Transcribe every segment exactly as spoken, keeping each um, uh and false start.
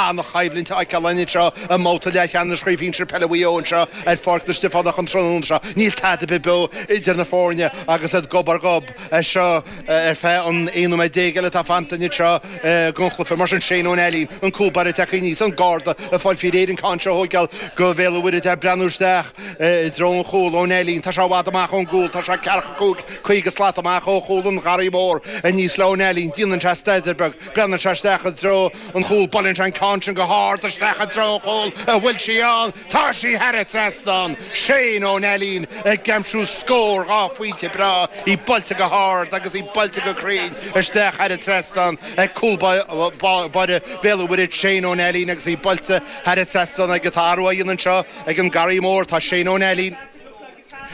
An-choimhlint a fheiceáil anseo i mbabhta leathcheannais Chraobh Shinsir Peile Mhaigh Eo anseo ar Pháirc na Stiofánach an tráthnóna seo. Níl tada ar bith beo idir na foirne agus iad gob ar ghob anseo ar feadh an aon nóiméad déag eile atá fanta anseo den chluiche. Mar sin Shane Ó Neilín, an cúl báire tagtha aníos, an garda ag fáil faoi réir an ceann seo a thógáil do Bhéal an Mhuirthead ag breathnú isteach i dtreo an chúil. Ó Neilín, tá sé i bhfad amach ón gcúl, tá sé ceathracha cúig, caoga slat amach ó chúl an Gharraí Mhóir. Aníos le Ó Neilín, déanann sé staidéar beag, breathnaíonn sé isteach i dtreo an chúil, buaileann sé an ceann sin go hard isteach i dtreo an chúil, an bhfuil sí ann? Tá sí thar an trasnán! Shane Ó Neilín ag aimsiú scór dhá phointe breá, í buailte go hard agus í buailte go cruinn isteach thar an trasnán ag cúl báire Bhéal an Mhuirthead, Shane Ó Neilín agus í buailte thar an trasnán aige. Tá athrú á dhéanamh anseo ag an Garraí Mór, tá Shane Ó Neilín.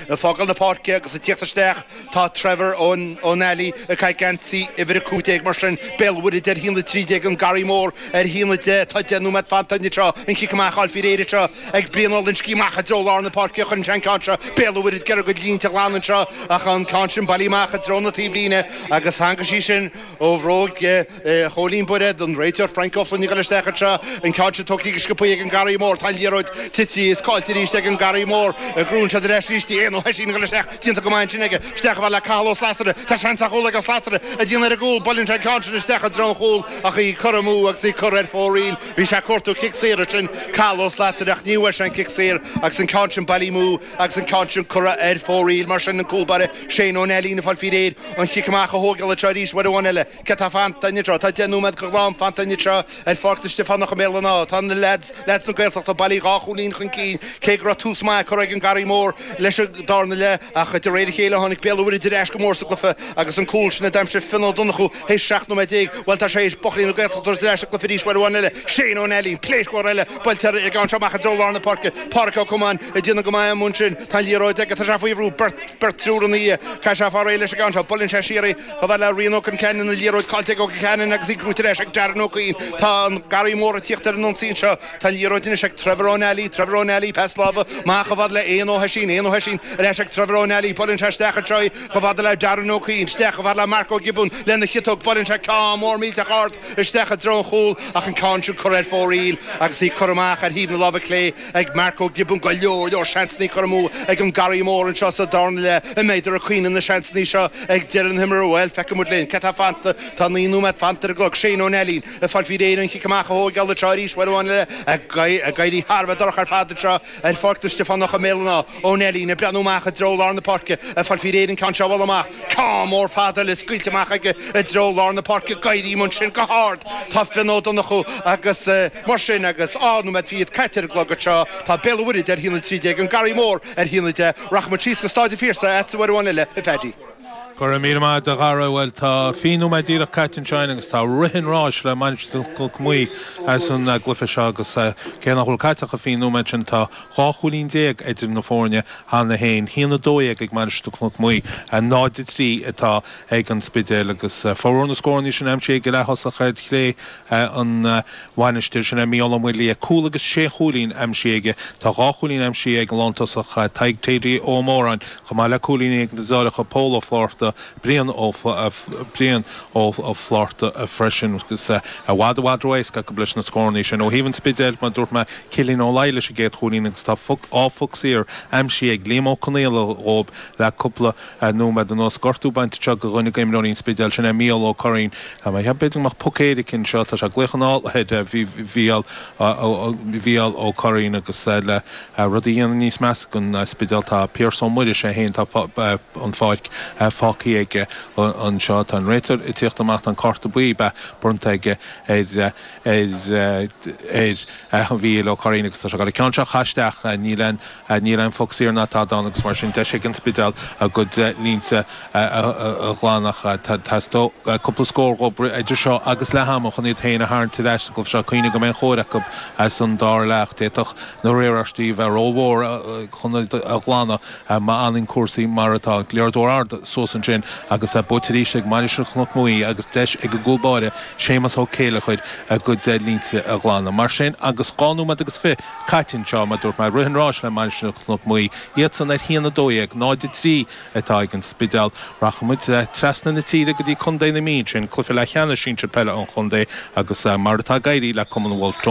Ag fágáil na páirce agus ag tíocht isteach tá Trevor Ó Neilí ag caitheamh geansaí uimhir a cúig déag mar sin Béal an Mhuirthead ar a haon a trí déag an Garraí Mór ar a haon a deich tá deich nóiméad fanta anseo an cic amach á fháil faoi réir anseo ag Brian Ó Loinsigh amach i dtreo lár na páirce a chuireann sé an ceann seo Béal an Mhuirthead ag iarraidh a gcuid línte a ghlanadh anseo ach an ceann sin bailithe amach i dtreo na taobhlíne agus tháinig sí sin ó bhróg Chóilín Bairéad, an réiteoir Frank Ó Floinn ag dul isteach anseo, an ceann sin tógtha go sciobtha ag an Garraí Mór, tá an liathróid tite is caillte arís ag an Garraí Mór, gnóthaíonn siad ar ais arís í, Éanna Ó hOisín ag dul isteach, déanta go maith ansin aige, isteach chomh fada le Cathal Ó Slatara, tá seans ar chúl ag Ó Slatara, ag déanamh ar an gcúl, buaileann sé an ceann sin isteach i dtreo an chúil ach í curtha amú agus í curtha ar fóraoil, bhí sé ag cuartú cic saor ansin Cathal Ó Slatara ach ní bhfuair sé an cic saor agus an ceann sin bailithe amú agus an ceann sin curtha ar fóraoil, mar sin an cúl báire Shane Ó Neilín ag fáil faoi réir an chic amach a thógáil anseo arís uair amháin eile. Cé tá fanta anseo? Tá deich nóiméad go glan fanta anseo ar Pháirc na Stiofánach i mBéal an Átha. Tá na leaids, leaids na Gaeltachta bailithe dhá chúilín chun cinn, cé go raibh tús maith curtha ag an Garraí Mór leis an darna leath ach de réir a chéile tháinig Béal an Mhuirthead ar ais go mór sa gcluiche agus an cúl sin a d'aimsigh Fionn Ó Donnchú théis seacht nóiméad déag, bhuel tá sé théis buachaillí na Gaeltachta a thabhairt ar ais sa gcluiche arís uair amháin eile. Shane Ó Neilín, pléasc mhór eile buailte ar an gceann seo amach i dtreo lár na páirce. Páraic Ó Comáin ag déanamh go maith amuigh ansin. Tá an liathróid aige, tá sé faoi bhrú, beirt, beirt triúr ina dhiaidh. Caithfidh sé fáil réidh leis an gceann seo. Buaileann sé siar í chomh fada le Rian Ó Conceanainn, an liathróid caillte ag Ó Conceanainn agus í gnóthaithe ar ais ag Darren Ó Cuinn. Tá an Garraí Mór ag tíocht ar an ionsaí anseo. Tá an liathróid anois ag Trevor Ó Neilí, Trevor Ó Neilí, pas láimhe amach chomh fada le Éanna Ó hOisín, Éanna Ó hOisín ar ais ag Trevor Ó Neilí. Buaileann sé isteach anseo í chomh fada le Darren Ó Cuinn, isteach chomh fada le Mark Ó Giobúin lena chiotóg. Buaileann sé ceann mór millteach ard isteach i dtreo an chúil ach an ceann sin curtha ar fóraoil agus í curtha amach ar thaobh na láimhe clé ag Mark Ó Giobúin. Go leor leor seansanna curtha amú ag an Garraí Mór anseo sa darna leath. An mbeidh ag cuimhneamh na seansanna seo ag deireadh na himeartha? Bhuel, feicfidh muid linn. Cé tá fanta? Tá naoi nóiméad fanta ar an gclog. Shane Ó Neilín ag fáil faoi réir an chic amach a thógáil anseo arís uair amháin eile ag éirí thar a bheith dorcha ar fad anseo ar Pháirc na Stiofánach i mBéal an Átha. Ó Neilín ag breathnú amach i dtreo lár na páirce ag fáil faoi réir an ceann seo a bhualadh amach. Ceann mór fada eile scaoilte amach aige i dtreo lár na páirce. Ag éirí ansin go hard tá Fionn Ó Donnchú agus mar sin agus dhá nóiméad fichead caite ar an gclog anseo tá Béal an Mhuirthead ar a haon a trí déag, an Garraí Mór ar a haon a deich. Rachaidh muid síos go Stáid an Phiarsaigh agatsa uair amháin eile, a Phaddy. Go raibh míle maith agat a Dhara. Bhuel, tá fiche nóiméad díreach caite anseo againn agus tá rith an ráis le Mainistir Chnoc Muaidhe as an gcluiche seo agus cé nach bhfuil caite ach an fiche nóiméad sin, tá dhá chúilín déag idir na foirne cheana féin, a haon a dó dhéag ag Mainistir Chnoc Muaidhe, náid a trí atá ag an Spidéal agus formhór na scóranna sin aimsithe ag leath-thosach ar chlé an Mhainistir, sin é Mícheál Ó Maoildhia. Cúl agus sé chúilín aimsithe aige. Tá dhá chúilín aimsithe ag an lántosach Tadhg Thady Ó Móráin, chomh maith le cúilíní ag na deartháireacha Pól Ó Flátharta, Brian Ó Brian Ó Flátharta freisin agus i bhfad i bhfad ró-éasca acu leis na scóranna sin. Ó thaobh an Spidéil, mar a dúirt mé, Cillian Ó Laidhe leis an gcéad chúilín agus tá dhá phoc saor aimsithe ag Liam Ó Conaola dhóibh le cúpla nóiméad anuas. Gortú bainte anseo do dhuine d'imreoirí an Spidéil, sin é Mícheál Ó Curraoin. B'fhéidir go mbeadh poc éirice anseo, tá sé ag glaoch anall ar Mhícheál Mhícheál Ó Curraoin agus le rud a dhéanamh níos measa don Spidéal tá Pearse Ó Muiris é féin tá an pháirc fágtha aige anseo. Tá an réiteoir ag tíocht amach, tá an cárta buí bronnta aige ar ar ar Mhícheál Ó Curraoin agus tá sé ag dul an ceann seo a chaitheamh isteach. Níl aon níl aon phoc saor ná tada ann agus mar sin deis ag an Spidéal a gcuid línte a ghlanadh. Theastódh cúpla scór dhóibh idir seo agus leath ama chun iad féin a tharraingt ar ais sa gcluiche seo. Cuimhnigh go mbeidh an chóir acu as an dara leath. D'fhéadfadh na riaráistí a bheith rómhór chun iad a ghlanadh má fhanann cúrsaí mar atá. Liathróid ard suas ansin agus buaite arís ag Mainistir Chnoc Muaidhe agus deis ag an gcúl báire Séamus Ó Céileachair a gcuid línte a ghlanadh. Mar sin agus dhá nóiméad agus fiche caite anseo, mar a dúirt mé, rith an ráis le Mainistir Chnoc Muaidhe, iadsan ar haon a dó dhéag, náid a trí atá ag an Spidéal. Rachaimid trasna na tíre go dtí Contae na Mí ansin, cluiche leathcheannais sinsir peile an chontae agus mar atá ag éirí le Cumann Wolfe Tone.